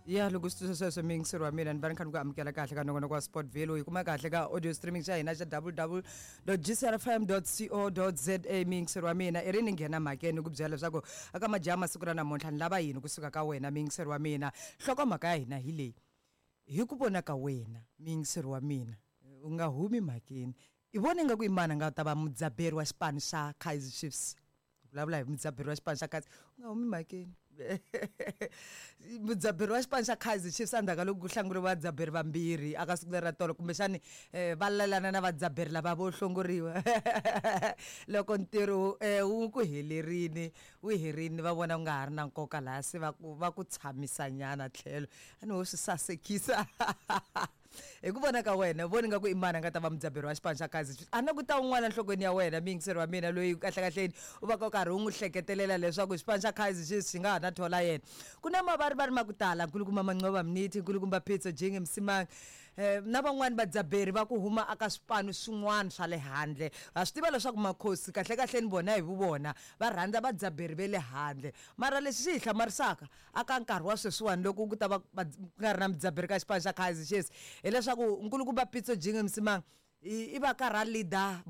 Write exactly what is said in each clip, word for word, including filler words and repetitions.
Ya, loko swi twisa sweswo, muyingiseri wa mina, ni va ni kha ni ku amukela kahle ka nongonoko wa Sportville. Hi kuma kahle ka audio streaming xa hina xa W W G C R F M co za. Muyingiseri wa mina, i ri ni nghena mhakeni ku byela leswaku aka majaha masiku ra namuntlha ni lava yini kusuka ka wena, muyingiseri wa mina. Nhlokomhaka ya hina hi leyi: hi ku vona ka wena, muyingiseri wa mina, u nga humi mhakeni, i vona ingaku i mani a nga ta va mudzaberi wa xipano xa Kaizer Chiefs? Vulavula hi mudzaberi wa xipano xa Kaizer, u nga humi mhakeni, mudzaberi wa xipano xa Kaizer Chiefs. Endzhaku ka loko ku hlanguriwa vadzaberi vambirhi aka siku leri ra tolo, kumbexani um va lelana na vadzaberi lava vo hlongoriwa, loko ntirho um wu ku helerini, wu herini, va vona ku nga ha ri na nkoka laha, se va ku va ku tshamisa nyana tlhelo, a ni ho swi sasekisa. Hi ku vona ka wena, voni nga ku i mani a nga ta va mudzaberi wa xipano xa Kaizer Chiefs? A na ku ta un'wana enhlokweni ya wena, muyingiseri wa mina, loyi kahlekahleni u va ka u karhi u n'wi hleketelela leswaku xipano xa Kaizer Chiefs xi nga ha na thola yena? Ku na mavarivari ma ku tala, nkulukumba Manqoba Mniti, nkulukumba Pitso Jinge Msimang, um na van'wani vadzaberi va ku huma aka swipano swin'wana swa le handle. Ha swi tiva leswaku Makhosi kahlekahleni vona hi vuvona va rhandza vadzaberi ve le handle, mara lexi xi hi hlamarisaka aka nkarhi wa sweswiwani, loko ku ta va ku nga ri na mudzaberi ka xipano xa Kaizer Chiefs, hileswaku nkulukumba Pitso Jinge Msimang i va karhi a leader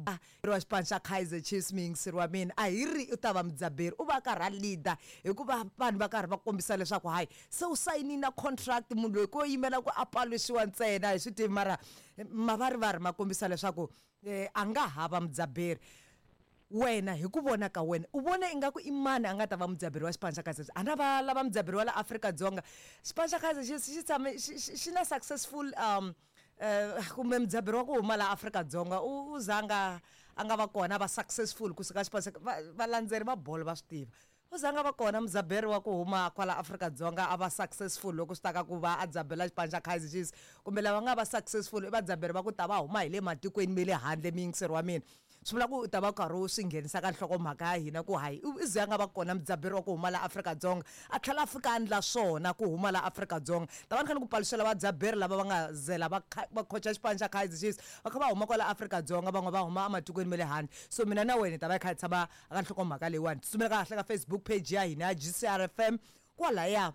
wa xipano xa Kaizer Chiefs. Muyingiseri wa mina, a hi ri u ta va mudzaberi, u va karhi a leader hikuva vanhu va karhi va kombisa leswaku hayi, se u sayini na contract, munhu loyi ko yimela ku a paluxiwa ntsena, hi swi tivi. Mara mavarivari ma kombisa leswaku um a nga hava mudzaberi. Wena, hi ku vona ka wena, u vona ingaku i mani a nga ta va mudzaberi wa xipano xa Kaizer Chiefs? A na va lava mudzaberi wa la Afrika-Dzonga. Xipano xa Kaizer Chiefs xi tshame xi xi na successful um uh, kumbe mudzaberi wa ku huma la Afrika-Dzonga u u zanga a nga va kona va successful kusuka xipano xa valandzeri va bolo va swi tiva, u zanga va kona mudzaberi wa ku huma kwala Afrika-Dzonga a va successful loko swi ta ka ku va a dzabela xipano xa Kaizer Chiefs. Kumbe lava nga va successful i vadzaberi va ku ta va huma hi le matikweni me le handle. Muyingiseri wa mina, swi vula ku u ta va karhi u swi nghenisa ka nhlokomhaka ya hina ku hayi, i ze a nga va kona mudzaberi wa ku huma la Afrika-Dzonga a tlhela a fika a endla swona ku huma la Afrika-Dzonga. Ta va ni kha ni ku paluxela vadzaberi lava va nga zela va va khocha xipano xa Kaizer Chiefs, va kha va huma kwala Afrika-Dzonga, van'we va huma ematikweni ma le handle. So mina na wena hi ta va hi kha hi tshama aka nhlokomhaka leyiwani. Tsutsumela kahle ka Facebook page ya hina ya G C R F M kwalaya,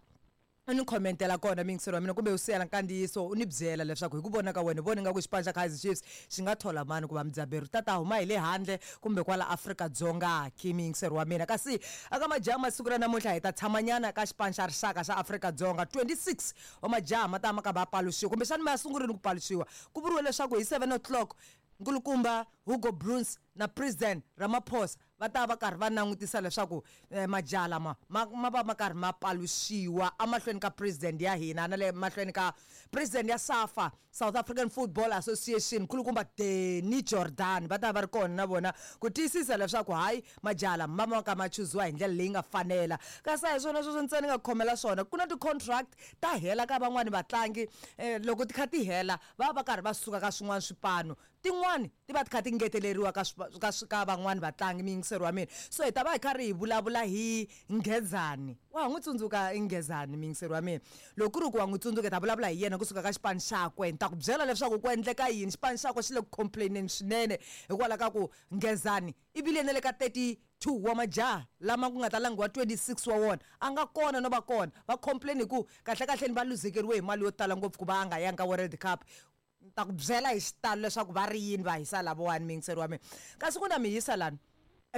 u ni khomentela kona, muyingiseri wa mina, kumbe u siyela nkandziyiso, u ni byela leswaku hi ku vona ka wena, vona ingaku xipano xa Kaizer Chiefs xi nga thola mani ku va mudzaberi, ta ta huma hi le handle kumbe kwala Afrika-Dzonga ki, muyingiseri wa mina? Kasi aka majaha masiku ra namuntlha, hi ta tshamanyana ka xipano xa rixaka xa Afrika-Dzonga. twenty-six wa majaha ma ta ma ka va paluxiwa, kumbexani ma ya sungurini ku paluxiwa. Ku vuriwe leswaku hi seven o'clock nkulukumba Hugo Broos na President Ramaphosa va ta va karhi va langutisa leswaku eh, majaha lama ma ma va ma karhi ma paluxiwa emahlweni ka president ya hina na le mahlweni ka president ya SAFA, South African Football Association, nkulukumba Danny Jordaan. Va ta va ri kona na vona ku tiyisisa leswaku hayi, majaha lama ma ma ka ma chuziwa hi ndlela leyi nga fanela. Kasi a hi swona sweswo ntsena nga khomela swona, ku na ti-contract ta hela ka van'wani vatlangi. um loko ti kha ti hela, va va karhi va suka ka swin'wana swipano, tin'wani ti va ti kha ti ngeteleriwa ka ka ka van'wani vatlangi, muyingiseri wa mina. So hi ta va hi karhi hi vulavula hi Nghezani. Wa ha n'wi tsundzuka Nghezani, muyingiseri wa mina? Loko ku ri ku wa n'wi tsundzuka, hi ta vulavula hi yena kusuka ka xipano xakwe. Ni ta ku byela leswaku ku endleka yini, xipano xakwe xi le ku complaineni swinene hikwalaho ka ku Nghezani i vile na le ka thirty two wa majaha lama ku nga ta langiwa twenty-six wa wona, a nga kona no va kona. Va complain hi ku kahlekahleni va luzekeriwe hi mali yo tala ngopfu ku va a nga yangi ka World Cup. Ni ta ku byela hi xitalo leswaku va ri yini va hisa lavawani, muyingiseri wa mina. Kasi ku na mihisa lani,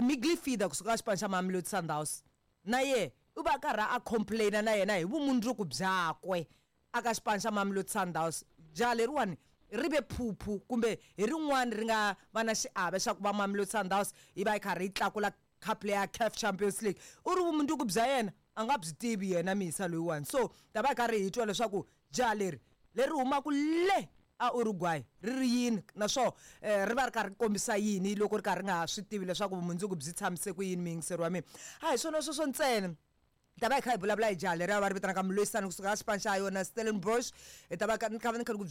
midfielder kusuka ka xipano xa Mamelodi Sundowns, na ye u va karhi a complaina na yena hi vumundzuku byakwe aka xipano xa Mamelodi Sundowns. Jaha leriwani ri ve phuphu kumbe hi rin'wani ri nga va na xiave xa ku va Mamelodi Sundowns yi va yi karhi yi tlakula cup leya CAF Champions League. U ri vumundzuku bya yena a nga byi tivi yena mihisa loyiwani. So ta va hi karhi hi twa leswaku jaha leri leri humaka le a Uruguay ri ri yini, naswona um ri va ri karhi ri kombisa yini loko ri karhi ri nga swi tivi leswaku vumundzuku byi tshamise ku yini, muyingiseri wa mina. A hi swona sweswo ntsena, hi ta va hi kha hi vulavula hi jaha leriya va ri vitanaka Moloisane kusuka ka xipano xa yona Stellenbosch. Hi ta va ni kha ni kha ni ku